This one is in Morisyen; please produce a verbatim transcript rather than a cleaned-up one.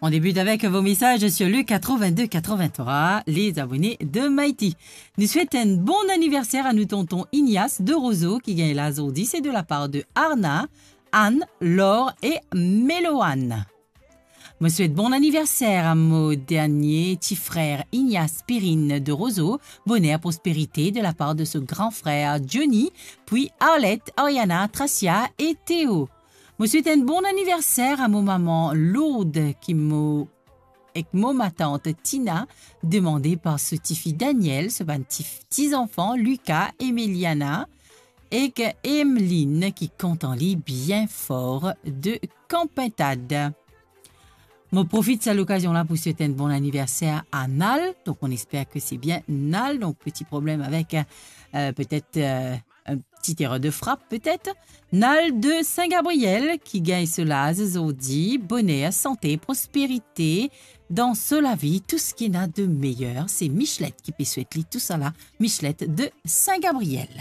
On débute avec vos messages sur le quatre-vingt-deux quatre-vingt-trois, les abonnés de Mighty. Nou swet enn bon aniverser a nou tonton Ignace de Roseau, ki gagn la zordi, se de la par de Arna, Anne, Laure e Meloane. Mo swet bon aniverser a mo dernie ti frer Ignace Perrine de Roseau, boner, prosperite de la par de so gran frer Johnny, pwi Arlette, Ariana, Tracia e Théo. Mo swet enn bon aniverser a mo maman Lourdes, ki mo, ek mo matant Tina, demande par so tifi Daniel, so bann ti, ti zanfan Lucas, Emiliana, ek Emeline, ki kontan li bien for de Kanpintad. Mo profit sa lokazion la pou swet enn bon aniverser a Nal. Donc, on espère que c'est bien Nal. Donc, petit problème avec, euh, peut-être, euh, une petite erreur de frappe, peut-être. Nal de Saint-Gabriel, ki gagn so laz zordi. Boner, sante, prosperite dan so lavi, tou seki ena de meyer. Se Michelet ki pe swet li tousala. Michelet de Saint-Gabriel.